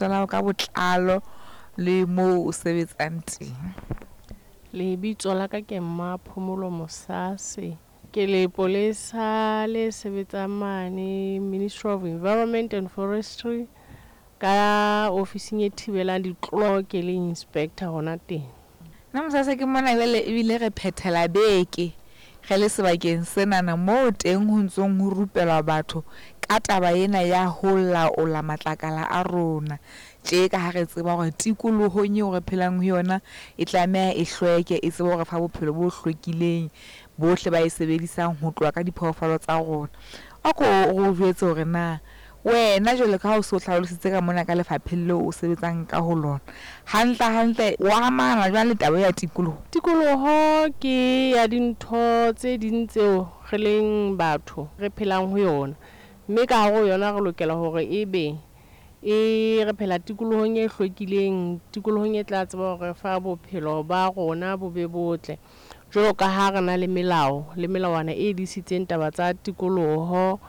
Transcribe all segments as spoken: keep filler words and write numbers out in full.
La hao ka botlalo le moo o sebetsang teng. Lebitso la ka ke Mmaphomolo Mosaase. Ke lepolesa le sebetsang mane Ministry of Environment and Forestry ka ofising e thibelang ditlolo, ke le inspector hona teng. Nna Mosase ke mona jwale ebile re phethela beke re le sebakeng senana moo teng ho ntsong ho rupelwa batho ka taba ena ya ho laola matlakala a rona. Tje ka ha re tseba hore tikolohong eo re phelang ho yona e tlameha e hlweke, e tsebe hore fa bophelo bo hlwekileng bohle ba e sebedisang ho tloha ka diphoofolo tsa rona. A ko o jwetse hore na wena jwalo ka ha o so hlalositse ka mona ka lefapheng leo o sebetsang ka ho lona, hantle hantle o amana jwang le taba ya tikoloho? Tikoloho ke ya dintho tse ding tseo re leng batho re phelang ho yona, mme ka hare ho yona re lokela hore ebe e re phela tikolohong e hlwekileng, tikolohong e tla tseba hore fa bophelo ba rona bo be botle. Jwalo ka ha re na le melao le melawana e disitseng taba tsa tikoloho,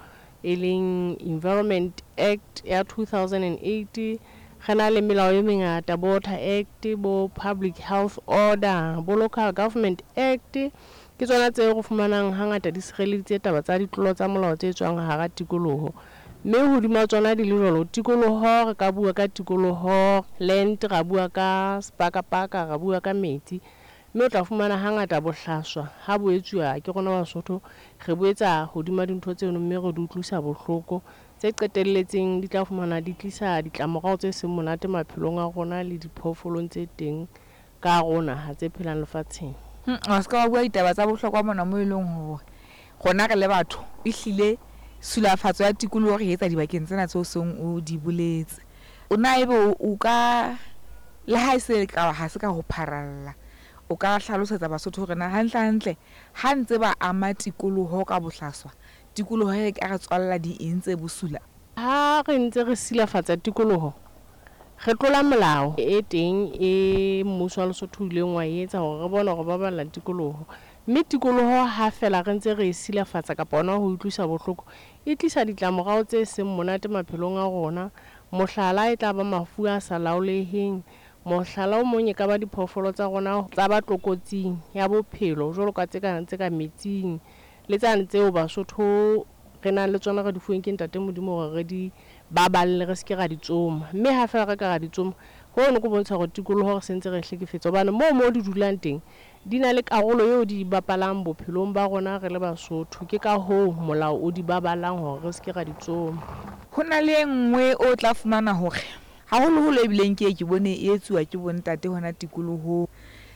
e leng Environment Act ya two thousand and eight. Re na le melao e mengata, bo Water Act, bo Public Health Order, bo Local Government Act. Ke tsona tseo re fumanang hangata di sireleditse taba tsa ditlolo tsa molao tse tswang hara tikoloho. Mme hodima tsona di le jwalo, tikoloho re ka bua ka tikoloho land, ra bua ka sepakapaka, ra bua ka metsi. Mme o tla fumana hangata bohlaswa ha bo etsuwa ke rona Basotho, re bo etsa hodima dintho tseno mme re di utlwisa bohloko tse qetelletseng di tla fumana di tlisa ditlamorao tse seng monate maphelong a rona le diphoofolong tse teng ka hare ho naha tse phelang lefatsheng. Wa se ka wa bua ditaba tsa bohlokwa mona moo e leng hore rona re le batho ehlile tshilafatso ya tikoloho re etsa dibakeng tsena tseo seng o di boletse. O na ebe o ka le ha e se ka ha se ka ho pharalla, o ka hlalosetsa Basotho hore na hantle hantle ha ntse ba ama tikoloho ka bohlaswa, tikoloho e ka re tswalla di eng tse bosula? Ha re ntse re silafatsa tikoloho, re tlola molao e teng e mmuso wa Lesotho o ileng wa etsa hore re bone hore baballa tikoloho. Mme tikoloho ha fela re ntse re e silafatsa kapa hona ho utlwisa bohloko, e tlisa ditlamorao tse seng monate maphelong a rona. Mohlala e tla ba mafu a sa laoleheng, mohlala o mong e ka ba diphoofolo tsa rona tsa ba tlokotsing ya bophelo jwalo ka tse ka tse ka metsing le tsane tseo Basotho re nang le tsona re di fuweng ke Ntate Modimo hore re di baballe, re se ke ra di tsoma. Mme ha fela re ka ra di tsoma, hono ke bontsha hore tikoloho re sentse re hlekefetsa, hobane moo mo di dulang teng di na le karolo eo di bapalang bophelong ba rona re le Basotho. Ke ka hoo molao o di baballang hore re se ke ra di tsoma. Ho na le e nngwe o tla fumana hore haholoholo ebileng ke ye ke bone e etsuwa ke bontate hona tikolohong.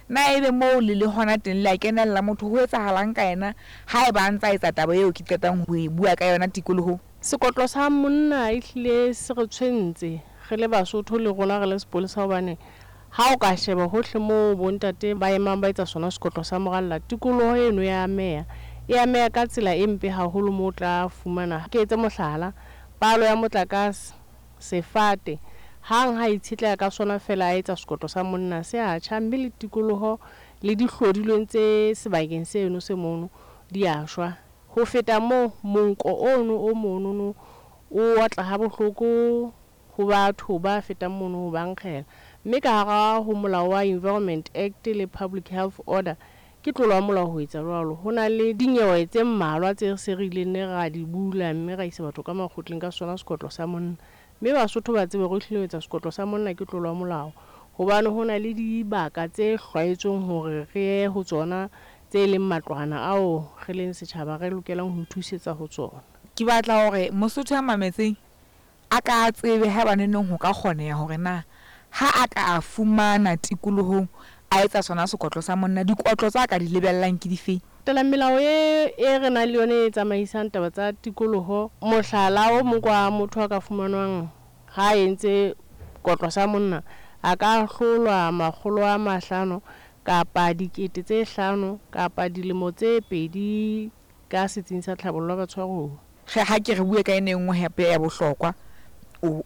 Na ebe moo le le hona teng le a kenella, motho ho etsahalang ka yena haeba a ntsa etsa taba eo ke qetang ho e bua ka yona tikolohong? Sekotlo sa monna ehlile se re tshwentse re le Basotho le rona re le sepolesa, hobane ha o ka sheba hohle moo bontate ba emang ba etsa sona sekotlo sa moralla, tikoloho eno ya ameha. E ameha ka tsela e mpe haholo moo o tla fumana. Ke etse mohlala, palo ya motlakase, sefate, hang ha itshetleha ka sona fela a etsa sekotlo sa monna se a tjha, mme le tikoloho le dihlodilweng tse sebakeng seno se mono di a shwa. Ho feta moo, monko ono o monono o otla ha bohloko ho batho ba fetang mono ho ba nkgela. Mme ka hara ho molao wa Environment Act le Public Health Order ke tlolo ya molao ho etsa jwalo. Ho na le dinyewe tse mmalwa tse se re ileng ne ra di bula mme ra isa batho ka makgotleng ka sona sekotlo sa monna. Mme Basotho ba tsebe hore ehlile ho etsa sekotlo sa monna ke tlolo ya molao, hobane ho na le dibaka tse hlwaetsweng hore re ye ho tsona tse leng matlwana ao re leng setjhaba re lokelang ho ithusetsa ho tsona. Ke batla hore Mosotho a mametseng a ka tsebe haeba neneng ho ka kgoneha hore na ha a ka a fumana tikolohong a etsa sona sekotlo sa monna, dikotlo tsa ka di lebellang ke difeng? Latela melao e e re nang le yona e tsamaisang taba tsa tikoloho. Mohlala o mong kwa motho a ka fumanwang ha a entse kotlo sa monna, a ka ahlolwa makgolo a mahlano kapa dikete tse hlano kapa dilemo tse pedi ka setsing sa tlhabollo ya batshwaruwa. Ha ke re bue ka ena e nngwe hape ya bohlokwa, o